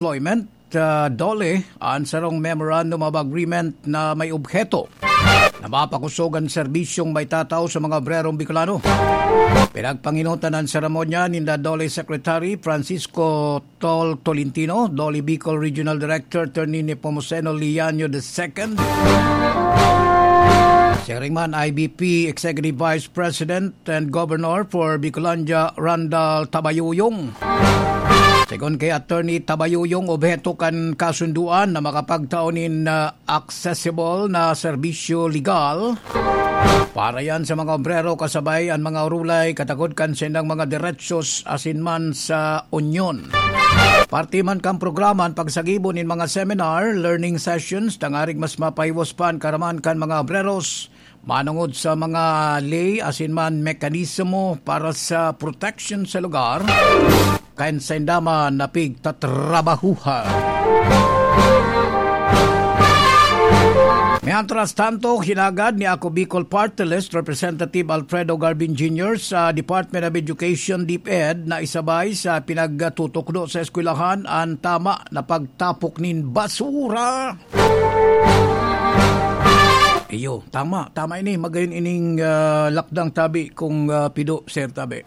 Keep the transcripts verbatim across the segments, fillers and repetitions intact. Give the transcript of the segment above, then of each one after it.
Employment, ah, DOLE, an sarong Memorandum of Agreement na may obheto na mapakosog an serbisyong maitatao sa mga obrerong Bicolano. Pinagpanginutan an seremonya ninda DOLE Secretary Francisco Tol Tolentino, DOLE Bicol Regional Director Attorney Nepomuceno Liaño the second, siring man I B P Executive Vice President and Governor for Bicolandia, Randall Tabayuyong. Segun kay Attorney Tabayuyong, obheto kan kasunduan na makapagtao nin, ah, accessible na serbisyo legal para yan sa mga obrero kasabay an mga urulay katakod kan saindang mga derechos asin man sa unyon. Parte man kan programa an pagsagibo nin mga seminar, learning sessions, tangarig mas mapahiwas pa an karaman kan mga obreros manongod sa mga ley asin man mekanismo para sa protection sa lugar kan sainda man na pigtatrabahuhan. Mientras tanto, hinagad ni Ako Bicol Party List Representative Alfredo Garbin Junior sa Department of Education, DepEd, na isabay sa pinagtutukdo sa eskwelahan an tama na pagtapok nin basura. Iyo, tama. Tama ini. Magayon ining, ah, lakdang tabi kung, ah, pido, Sir Tabi.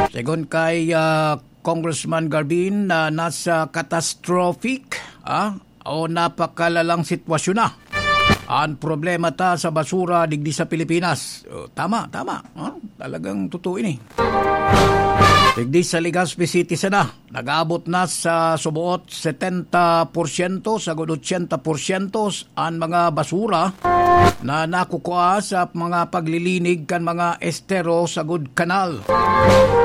Segun kay, ah, Congressman Garbin, na nasa catastrophic, ah, o napakalalang sitwasyon na an problema ta sa basura digdi sa Pilipinas. Oh, tama, tama. Ah, talagang totoo ini. Digdi sa Legazpi City sana, nag-aabot na sa suboot setenta porsyento, sagud ochenta porsyento an mga basura na nakukua sa mga paglilinig kan mga estero sagud kanal.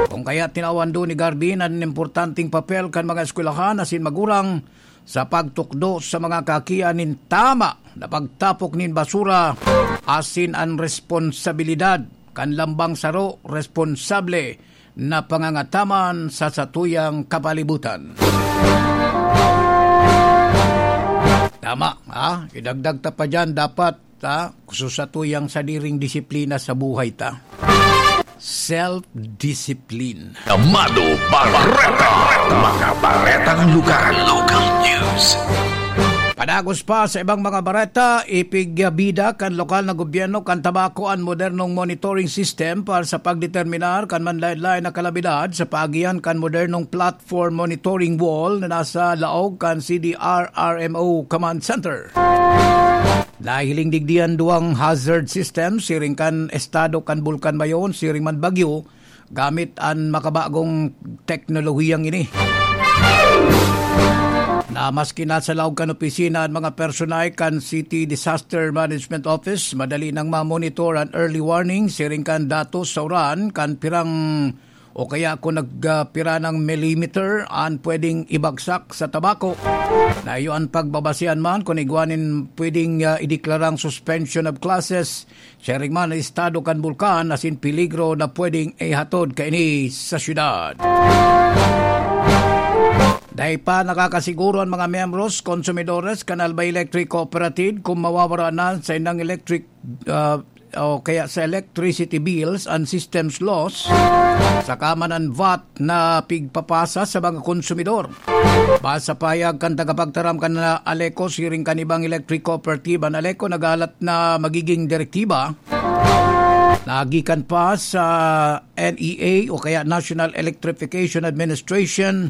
Kung kaya tinawan do ni Garbin an importanteng papel kan mga eskwelahan asin magurang sa pagtukdo sa mga kakian nin tama na pagtapok nin basura asin an responsabilidad kan lambang saro responsable na pangangataman sa satuyang kapalibutan. Tama, ha? Idagdag ta pa dyan, dapat, ha? Sa satuyang sadiring disiplina sa buhay ta. Self-discipline. Amado Barreta, mga baretang lokal, local news. Padagos pa sa ibang mga bareta, ipigbida kan lokal na gobyerno kan Tabaco an modernong monitoring system para sa pagdeterminar kan manlaen-laen na kalamidad sa paagihan kan modernong platform monitoring wall na nasa laog kan C D R R M O Command Center. Nahihiling digdi an duwang hazard system siring kan estado kan Bulkan Mayon siring man bagyo, gamit an makabagong teknolohiyang ini. Na maski nasa laog kan opisina an mga personay kan City Disaster Management Office, madali nang ma-monitor an early warning siring kan datos sa uran kan pirang o kaya kung nagpira ng millimeter an pwedeng ibagsak sa Tabaco. Na iyo an pagbabasehan man kung igwa nin pwedeng, ah, ideklarang suspension of classes, siring man an estado kan bulkan asin peligro na pwedeng ihatod kaini sa syudad. Dai pa nakakasiguro an mga miyembros, konsumidores kan Albay Electric Cooperative kung mawawara na sa indang electric, ah, o kaya sa electricity bills an systems loss, saka man an vat na pigpapasa sa mga konsumidor. Base sa pahayag kan tagapagtaram kan ALECO siring kan ibang electric cooperative, an ALECO naghalat na magiging direktiba na gikan pa sa N E A o kaya National Electrification Administration,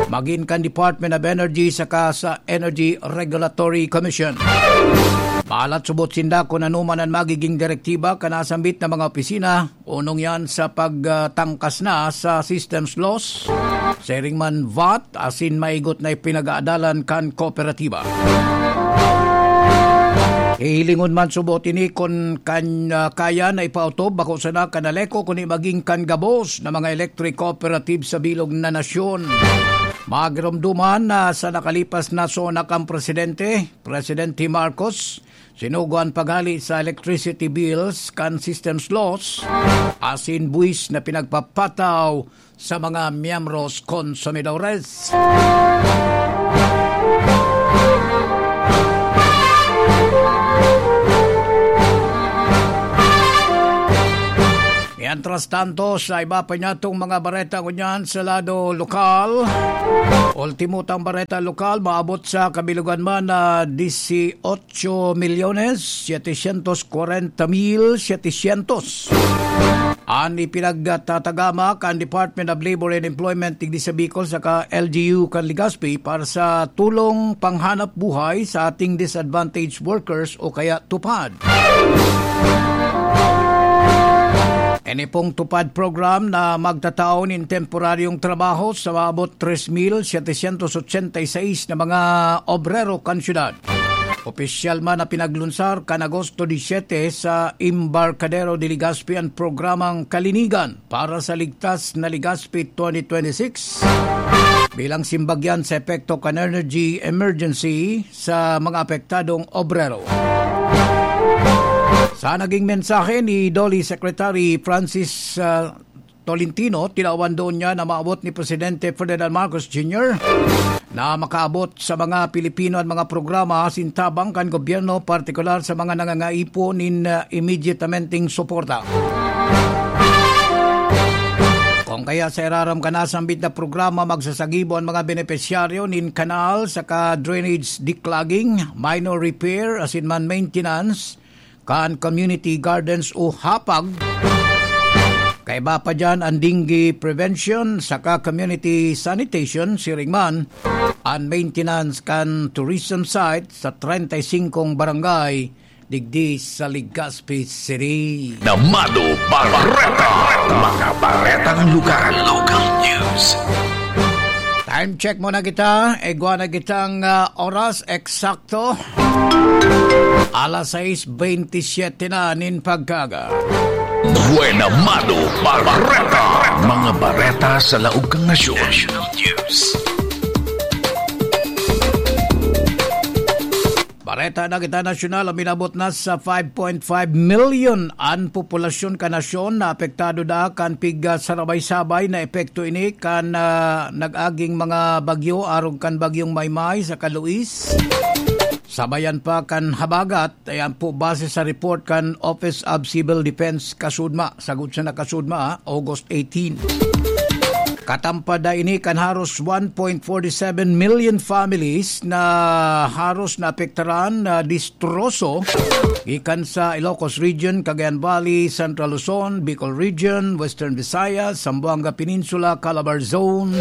magin kan Department of Energy saka sa Energy Regulatory Commission. Mahalat subot sinda kun ano man an magiging direktiba kan nasambit na mga opisina, onong yan sa pagtangkas na sa systems loss, siring man vat, asin maigot na ipinag-aadalan kan kooperatiba. Hihilingon man subot ini kun kan, ah, kaya na ipautob, bako sana kan ALECO, kundi magin kan gabos na mga electric cooperative sa bilog na nasyon. Magiromdoman na sa nakalipas na SONA kan presidente, Presidente Marcos, sinugo an paghali sa electricity bills kan systems loss, asin buwis na pinagpapataw sa mga miyembros konsumidores. Mientras Tanto sa iba pa niyatong mga bareta ngunyan sa lado lokal. Ultimo tang bareta lokal, maabot sa kabilugan man na dieciocho milyones setecientos cuarenta mil setecientos. An ipinagtatagama kan Department of Labor and Employment digdi sa Bicol saka L G U kan Legazpi para sa tulong panghanap buhay sa ating disadvantaged workers o kaya TUPAD. Ini pong TUPAD program na magtatao nin temporaryong trabaho sa maabot tres mil setecientos ochenta y seis na mga obrero kan syudad. Opisyal man na pinaglunsar kan Agosto diecisiete sa Embarcadero de Legazpi an programang Kalinigan para sa Ligtas na Legazpi twenty twenty-six bilang simbagyan sa epekto kan energy emergency sa mga apektadong obrero. Sa naging mensahe ni DOLE Secretary Francis, ah, Tolentino, tinawan doon niya na maabot ni Presidente Ferdinand Marcos Junior na makaabot sa mga Pilipino an mga programa asin tabang kan gobyerno, partikular sa mga nangangaipo nin, ah, immediatamenteng suporta. Kung kaya sa iraram kan nasambit na programa, magsasagibo an mga benepisyaryo nin kanal saka drainage declogging, minor repair, asin man maintenance kan community gardens o hapag. Kaiba pa diyan an dengue prevention saka community sanitation, siring man an maintenance kan tourism site sa treinta y singkong barangay digdi sa Legazpi City. Namado Bareta, mga baretang lugar, local news. Time check muna kita. Igwa na kitang, ah, oras eksakto. Alas sais bentisiete na nin pagkaaga. Buena Mado Bareta, mga bareta sa laog kan nasyon. National news. Bareta na kita nasyonal, uminabot na sa five point five million an populasyon kan nasyon na apektado da kan piga sarabay-sabay na epekto ini kan, ah, nag-aging mga bagyo arog kan Bagyong Maymay saka Luis. Sabayan pa kan habagat, ayan po, base sa report kan Office of Civil Defense, kasudma, sagkod sana kasudma, ah, August eighteen. Katampad na ini kan haros one point forty seven million families na haros naapektaran na distroso gikan sa Ilocos Region, Cagayan Valley, Central Luzon, Bicol Region, Western Visayas, Zamboanga Peninsula, Calabar Zone,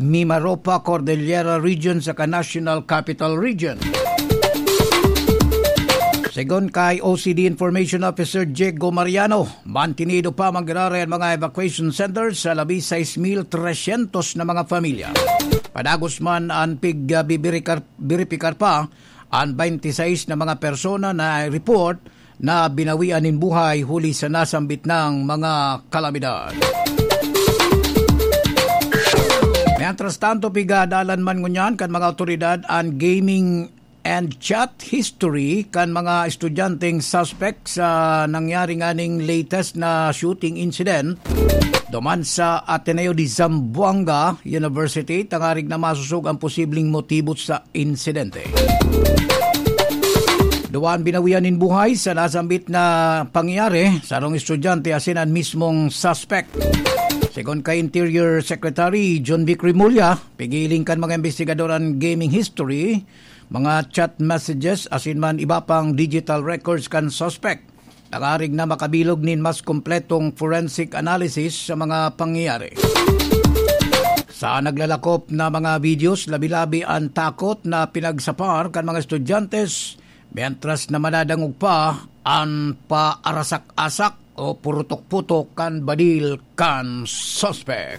Mimaropa, Cordillera Region, saka National Capital Region. Segun kay O C D Information Officer Diego Mariano, mantinido pa man giraray an mga evacuation centers sa labi sais mil tresyentos na mga pamilya. Padagos man an pig-, ah, bibirikar-, biripikar pa an baynte sais na mga persona na report na binawian nin buhay huli sa nasambit nang mga kalamidad. Mientras tanto, pigadalan man ngunyan kan mga awtoridad an gaming and chat history kan mga estudyanteng suspect sa nangyari nganing latest na shooting incident duman sa Ateneo de Zamboanga University, tangarig na masosog ang posibleng motibo sa insidente. Duwa an binawian nin buhay sa nasambit na pangyayari, sarong estudyante asin an mismong suspect. Segun kay Interior Secretary Jonvic Remulla, pigiling kan mga imbestigador an gaming history, mga chat messages asin man iba pang digital records kan suspect, tangarig na makabilog nin mas kompletong forensic analysis sa mga pangyayari. Sa naglalakop na mga videos, labi-labi an takot na pinagsapar kan mga estudyante, mientras na madadangog pa an paarasak-asak o purutok-putok kan badil kan suspek.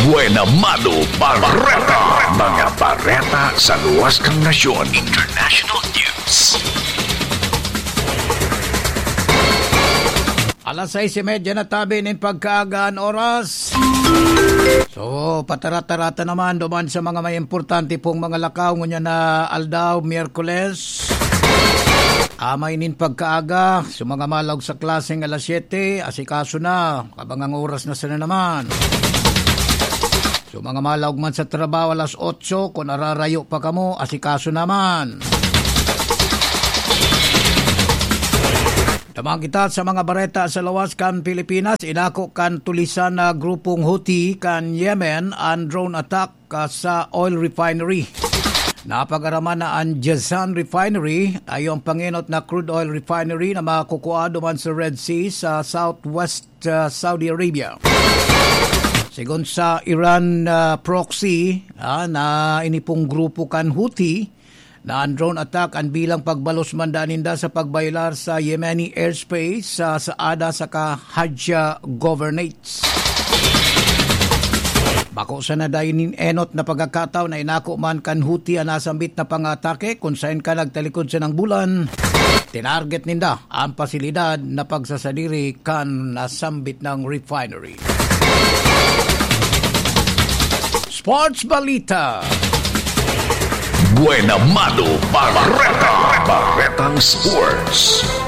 Buena Mano Bareta. Mga bareta sa luwas kan nasyon. International news. Alas sais y media na tabi nin pagkaaga an oras. So, patarata-rata naman duman sa mga may importante pong mga lakaw ngunyan na aldaw, Miyerkules. Amay nin pagkaaga, so mga malaog sa klaseng alas siyete, asikaso na, kabang ang oras na sana naman. So, mga malaog man sa trabaho, alas otso, kun ararayo pa kamo, asikaso naman. Mga kita sa mga bareta sa lawas kan Pilipinas, inako kan tulisan na grupong Houthi kan Yemen an drone attack, ah, sa oil refinery. Napagaraman na an Jazan Refinery, ayo ang pangenot na crude oil refinery na makukua duman sa Red Sea sa southwest, ah, Saudi Arabia. Sigon sa Iran, ah, proxy, ah, na inipong grupo kan Houthi, na an drone attack an bilang pagbalos man daan ninda sa pagbayolar sa Yemeni airspace sa Saada saka Hajja Governates. Bako sana dai nin enot na pagkakataon na inako man kan Houthi an nasambit na pangatake, kun saen ka nagtalikod sa nang bulan, tinarget ninda ang pasilidad na pagsasadiri kan nasambit ng refinery. Sports Balita. Buena Mano Barreta. Barretang Sports.